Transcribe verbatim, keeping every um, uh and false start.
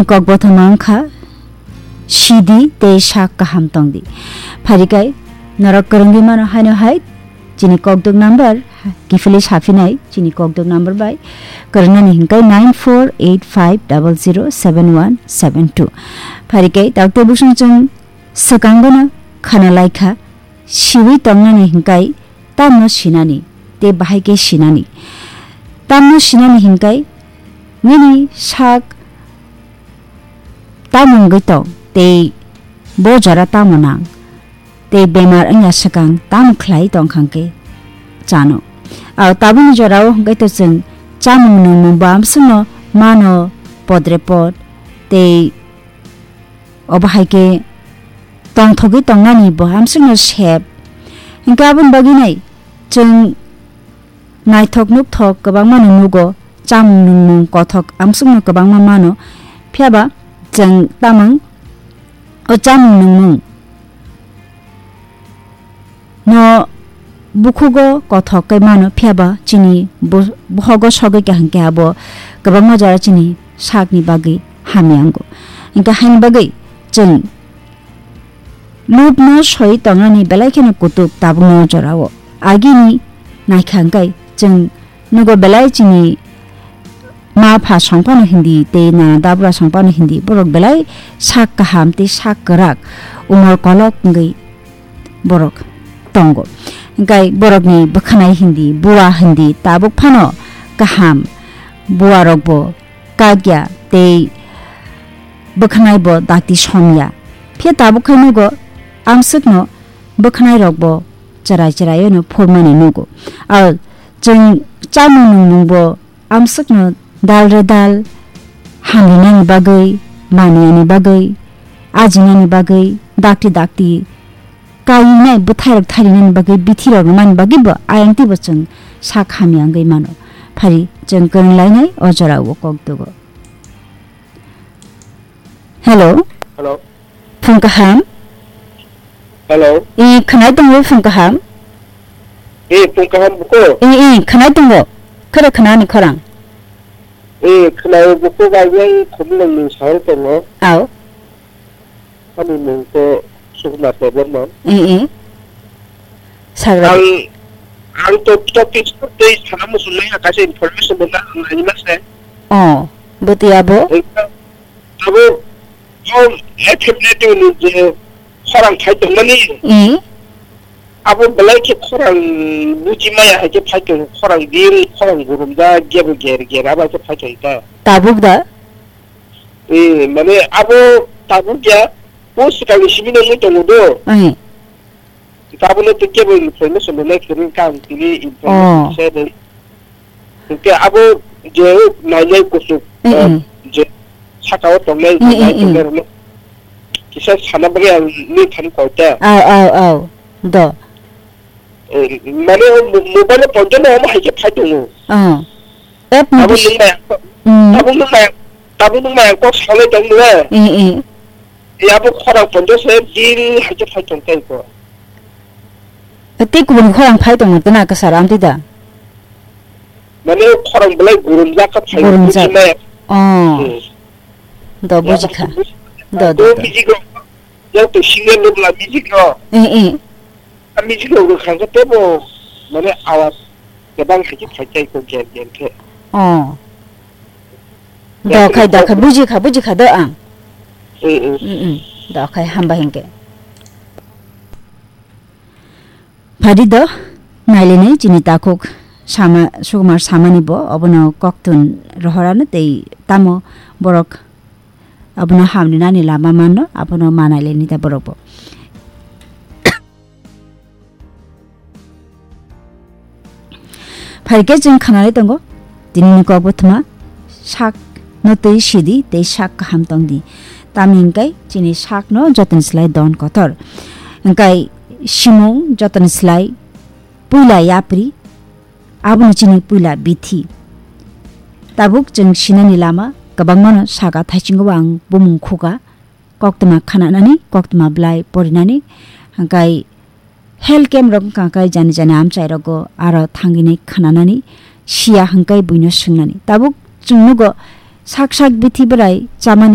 Kokbothoma wngkha, sidi tei sak kaham tongdi. Pharikai norok kwrwngwi mano haino hai chini kokduk number kiphilwi saphinai chini kokduk number bai kwrwngnani hwnkhe nine four eight five double zero seven one seven two. Pharikai takte busung chwng swkang bono khana laikha, siwi tongnani hwnkhe tamno sinani tei bahai khe sinani. Tamno sinani hwnkhe nini sak tamo wngwi tong tei bo jora tamo nang tei bemar wngya swkang tamo khlai tongkha hwnkhe chano. Ao tabukni jorao hwnkhe to chwng chamung nungmung bo amswkno mano podre pod tei obo hai khe tongthogwi tongnani bo amswkno sep. Hwnkhe aboni bagwi nai chwng naithok nukthok kwbangma no nugo, chamung nungmung kothok amswkno kwbangma mano, phiyaba chwng tamung o chamung nungmung no bukhugo kothok khe mano, phiyaba chini bo-, bohogo sogwi kaham khe abo kwbangma jora chini sakni bagwi hamya wngo. Hwnkhe haini bagwi chwng lubno soi tongnani belai kheno kutuk tabukno jorao. Agini naikha hwnkhe chwng nugo belai chini ma pha songphano hindi tei nana dabra songphano hindi borok belai sak kaham tei sak kwrak umor kolok wngwi borok tongo. Hwnkhe borokni bwkhanai hindi, bua hindi tabuk phano kaham, buarokbo kakya tei bwkhanaibo dakti somya. Phiya tabuk khai nugo amswkno bwkhanairokbo chwrai chwraiyano phurmani nugo. Aro chwng chamung nungmungbo amswkno dal re dal hamrinani bagwi, maniyani bagwi, ajinani bagwi, dakti dakti kainai bwthairok tharinani bagwi, bithirok rwmani bagwi bo ayang twibo chwng sak hamya wngwi mano. Phari chwng kwrwng lainai o jorao kok dugo. Hello. Hello. Phung kaham. Hello. I khwnai tongo phung kaham. I phung kaham buko. I, i khwnai tongo. Khoro khwnani khorang. I khwnai buko bai bai khumulung ni sahol tongo. Au. Ani mung ko Sukma Debbarma. I, i. Sagra. Ang, ang to topic tei sana musulmai kaisa information bo na ang ani mase. Oh, bwtwi abo. Abo, o F F N T ni je khorang phai tongmani, i, abo belai khe khorang buji maya hai khe phai tong, khorang din, khorang gurumjak, gebo ger ger, abo hai khe phai tong ta. Tabuk da? E, mane abo tabuk ya, o swkangni simi no wngwi tongo do. I. Tabuk no tei kebo information rwnai kwrwng kha ang tini information, oh, kisa de. Hwnkhe abo je nainai kuchuk, mm, eh, mm, je saka o tongnai, mm, mm, nai, mm, tongnai rokno kisa sana bagwi ang nini thani koi ta. Au, au, au. Do. Eh, mane o mo-, mobile o ponjo no omo hai khe phai tongo. Oh. App ni abo bis-, nwng maya, mm, abo nwng maya, abo nwng maya kok salai tong nung. Eh, eh. Ya bo khorang ponjo se din hai khe phai tong tai ko. Tei kubun khorang phai tongma tei na kwcharo amtwi da? Mane khorang belai gurumjak kha phai. Gurumjak. Buji maya. Oh. Hmm. Do, ya, bujikha. Buji-, do, do, do, do. Music rok, ya to singer rok la music rok. Eh, eh. A music rok rwkha khe teibo mane awas kwbang hai khe phai tai ko ger ger khe. Oh. Do khai, do khai, bujikha, bujikha do ang. Mm, mm. Mm, mm. Do khai hamba hinkhe. Phadi do, nailinai chini takhuk sama, Sukumar samani bo, obono koktun rohorano tei tamo borok abono hamni nani lama manno, abono manai laini ta borok bo. Phaikhe chwng khanalai tongo, tinini kok bwthwma sak no twi sidi tei sak kaham tongdi. Tamni hwnkhe chini sakno jotoni slai don kotor. Hwnkhe simung jotoni slai puila yapri, abono chini puila bithi. Tabuk chwng sinani lama kwbangmano saka thaisingo ang bumung khuka, koktwma khananani, koktwma bwlai porinani, hwnkhe health camp rok wngkha khe jani jani amchai rogo aro thangwi nai khananani siya hwnkhe buino swngnani. Tabuk chwng nugo sak sak bithi bwrai chamani